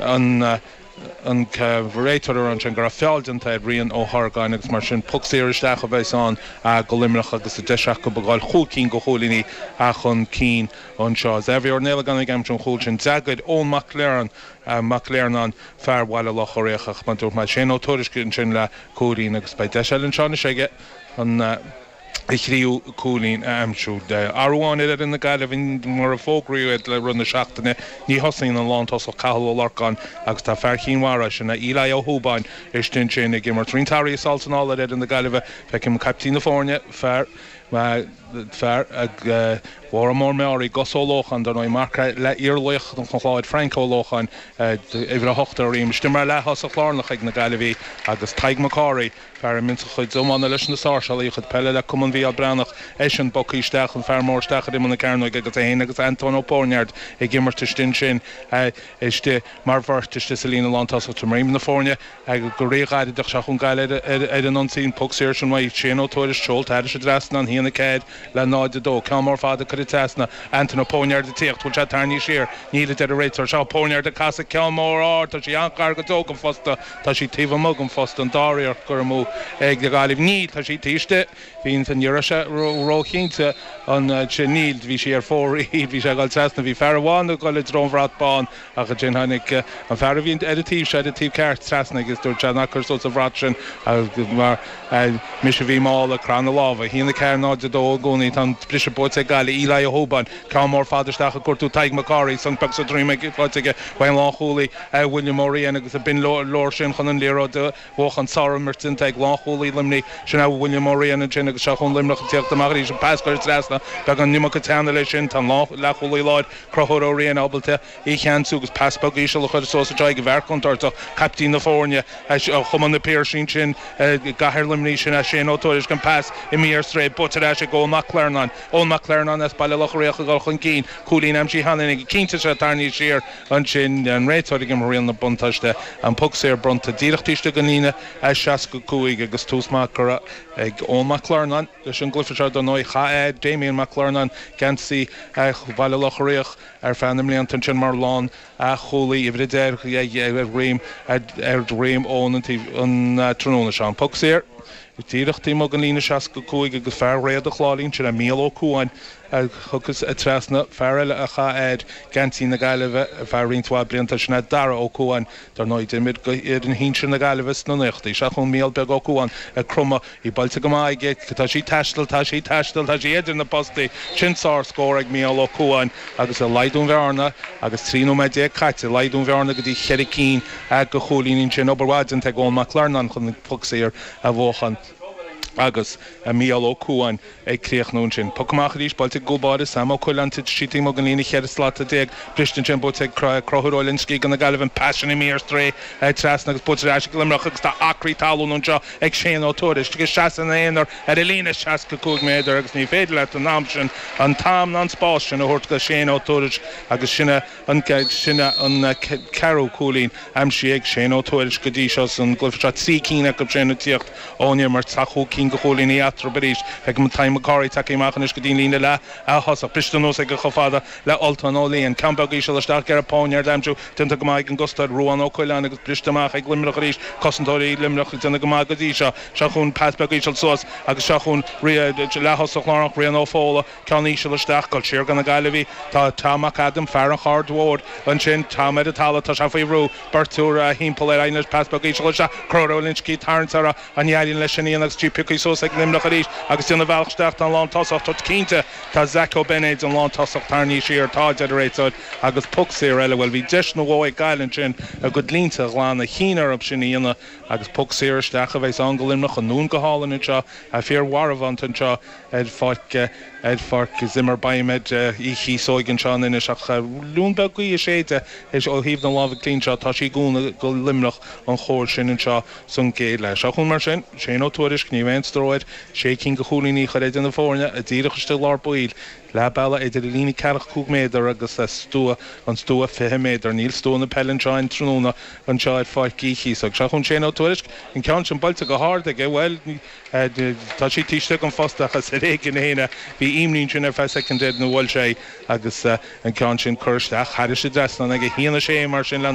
An an réiteoir a rá ansin go raibh feall déanta ar Rian Ó hArgáin agus mar sin poc saor isteach a bheas ann go Luimneach agus an deis acu a ghabháil chúig cinn de chúilíní chun cinn anseo. Xavier Ó Néilleagáin ag aimsiú an chúil sin. D'fhreagair Eoin Mac Mac Léarnáin, fear Bhaile Locha Riach ach mar a dúirt mé Shane Ó Tuairisg ansin le cúilín agus beidh deis eile anseo anois aige an a thríú cúilín a aimsiú. Athrú amháin ar fhoireann na Gaillimhe mar a fógraíodh iad le rith na seachtaine, ní thosaíonn an lántosach Cathal Ó Lorcáin agus tá fear Chinn Mhara, sin é Eli Ó hÚbáin, istigh ansin ag imirt. Roinnt athruithe sall is anall ar fhoireann na Gaillimhe. Feicim caiptín na foirne, fear fear Mhóra Mór Meáraí, Gus Ó Lócháin, dar ndóigh, mac le iarlaoch an Chláir, Frank Ó Lócháin, uimhir 8 ar a dhroim, istigh mar leath-thosach lárnach ag na Gaillimhigh agus Tadhg Mac Cárthaigh, Fear a mbíonns a chuid iomána leis na Sáirséalaigh, a chuid peile le Cumann Mhícheál Breathnach, eisean bogtha isteach, an fear mór isteach ar imeall na cearnóige agus é féin agus Antóin Ó Póirneáird ag imirt istigh ansin, istigh mar bheirt istigh sa líne lántosach. Triomaím na foirne go ríghairid ach seo chugainn Gaillimh ar an ionsaí, an poc saor sin uaidh Shane Ó Tuairisg, seolta thairis an dtrasnán, 1-4 le 0-2. Ceann mór fada curtha trasna, Antóin Ó Póirneáird ag tíocht, bhfuil sé tarraingthe siar? Níl, a deir an réiteoir. Seo Ó Póirneáird ag casadh ceann mór ard, tá sí an-ghar go deo don phosta. Tá sí taobh amuigh den phosta, an dara iarracht curtha amú ag Gaillimh. Níl, tá sí taobh istigh. Bhí an, ní raibh sé róchinnte ansin. Níl, bhí sí ar fóraoil, bhí sé ag dul trasna. Bhí fear amháin ag dul i dtreo an bhrat bán ach ansin tháinig an fear a bhí ar an taobh seo, ar an taobh ceart, trasna agus dúirt sé, ná cuir suas an bhrat sin mar mise a bhí mall ag croitheadh na lámha. 1, 4, 0, 2 i gcónaí. Tá an briseadh buaite ag Gaillimh. Eli Ó hÚbáin, ceann mór fada isteach ag cuartú Tadhg Mac Cárthaigh, sonc beag sa droim ag faighte aige ón lánchúlaí. William Ó Riain agus b'in leor sin chun an liathróid a bhuachan. Sárimirt déanta ag lánchúlaí Luimnigh, sin é William Ó Riain ansin agus seo chugainn Luimneach ag tíocht amach arís. An pas curtha trasna, beagán an iomarca teanna leis sin. Tá an leathchúlaí láir, Conchúr Ó Riain, ábalta í a cheansú agus pas beag íseal a chur suas anseo ag an bhfear contúirteach, caiptín na foirne, ó Chumann na Piarsaigh ansin i gcathair Luimnigh, sin é Shane Ó Tuairisg. An pas imithe ar strae, buaite ar ais ag Eoin Mac Clearnáin. Eoin Mac Clearnáin as Baile Locha Riach ag dul chun cinn. Cúilín aimsithe cheana aige. Cinnte sé tarraingthe siar. Ansin, an réiteoir ag imirt riail na buntáiste, an poc saor bronnta díreach taobh istigh den líne 65 agus tús maith curtha ag Eoin Mac Clearnáin leis an gcluiche seo. Dar ndóigh, chaith a athair, Damien Mac Clearnáin, geansaí Bhaile Locha Riach ar feadh na mblianta ansin mar lánchúlaí, uimhir 10 ar dhroim Eoin an tráthnóna seo. An poc saor díreach taobh amuigh den líne 65 agus fear Réad an Chláirín, sin é Mícheál Ó Cuain, a thiocfas trasna. Fear eile a chaith a athair geansaí na Gaillimhe ar feadh roinnt mhaith blianta, sin é Dara Ó Cuain. Dar ndóigh, d'imir do fhoireann shinsir na Gaillimhe sna naochadaí. Seo chugainn Mícheál Beag Ó Cuain ag cromadh, í buailte go maith aige. Tá sí ag taisteal, tá sí ag taisteal, tá sí idir na postaí. Sin sárscór ag Mícheál Ó Cuain agus ag laghdú an bhearna agus 13 nóiméad caite, ag laghdú an bhearna go dtí cheithre cinn de chúilíní ansin. Obair mhaith déanta ag Eoin Mac Larnáin chun an poc saor a bhuachan agus Mícheál Ó Cuain ag críochnú ansin. Poc amach arís, buailte ag an gcúl báire, Sam Ó Coileáin, titfidh sí taobh amuigh den líne 14 slata, briste ansin, buaite ag Conchúr Ó Loinsigh do na Gaillimh, an pas sin imithe ar strae trasna agus buaite ar ais ag Luimneach agus tá acraí talún anseo ag Shane Ó Tuairisg ag seasamh ina aonar ar an líne 65 méadar agus ní féidir leat an am sin, an t-am ná an spás sin a thabhairt do Shane Ó Tuairisg agus sin é an sin é an ceathrú cúilín aimsithe ag Shane Ó Tuairisg go dtí seo san gcluiche seo, 3 cinn acu sin ag tíocht ón imirt. Tá chúig cinn de chúilíní eatarthu arís. Feicim Tadhg Mac Cárthaigh tagtha amach anois go dtí an líne leath-thosach. Briste anuas aige chomh fada le Ultan Ó Liatháin. Ceann beag íseal isteach ag iarraidh Póirnéard a aimsiú. Déanta go maith ag an gcosantóir Ruán Ó Coileáin agus briste amach ag Luimneach arís. Cosantóirí Luimneach ag déanamh go maith go dtí seo. Seo chugainn pas beag íseal suas agus seo chugainn leath-thosach lárnach Rian Ó Fódhla. Ceann íseal isteach, dul siar do na Gaillimhigh. Tá Tom Mac Adaim, fear an Chaird Mhóir, ansin. Tom ar an talamh, tá sé faoi bhrú. Beirt úr thimpeall air. Éiríonn leis pas beag íseal isteach. Conchúr Ó Loinsigh ag tarraingt orthu. An éiríonn leis sin a dhéanamh agus í pioctha suas ag Luimneach arís agus déanamh a bhealach isteach don lántosach. Tá cinnte, tá Zach Ó Beinéid, an lántosach, tarraingthe siar. Tá, deir an réiteoir, agus poc saor eile. Bhuel, bhí deis nó dhó ag Gaillimh ansin a gcuid línte a ghlanadh. Chinn orthu sin a dhéanamh agus poc saor isteach a bheas ann do Luimneach. An nóin go hálainn anseo. Fíormharbhánta anseo. Ar pháirc ar pháirc Zimmer Biomet Uí Chíosóig anseo in Inis ach liún beag gaoithe ag séideadh ó thaobh na láimhe clí anseo. Tá sí ag cúnamh do Luimneach an chóir sin anseo san gcéad leath. Seo chugainn mar sin, Shane Ó Tuairisg, ní raibh aon stró air, sé cinn de chúilíní a chur idir na foirne, díreach istigh i lár baill, leath bealaigh idir an líne ceathracha cúig méadar agus stua an stua 20 méadar. Níl stua na peile anseo aon tráthnóna anseo ar Pháirc Uí Chíosóig. Seo chugainn Shane Ó Tuairisg, an ceann sin buailte go hard aige, bhuel, Tá sí taobh istigh den phosta ach is ar éigean féin a bhí imní ansin ar feadh soicind air nó bhuail sé agus an ceann sin curtha isteach thairis an dtrasnán aige. 1-6 mar sin le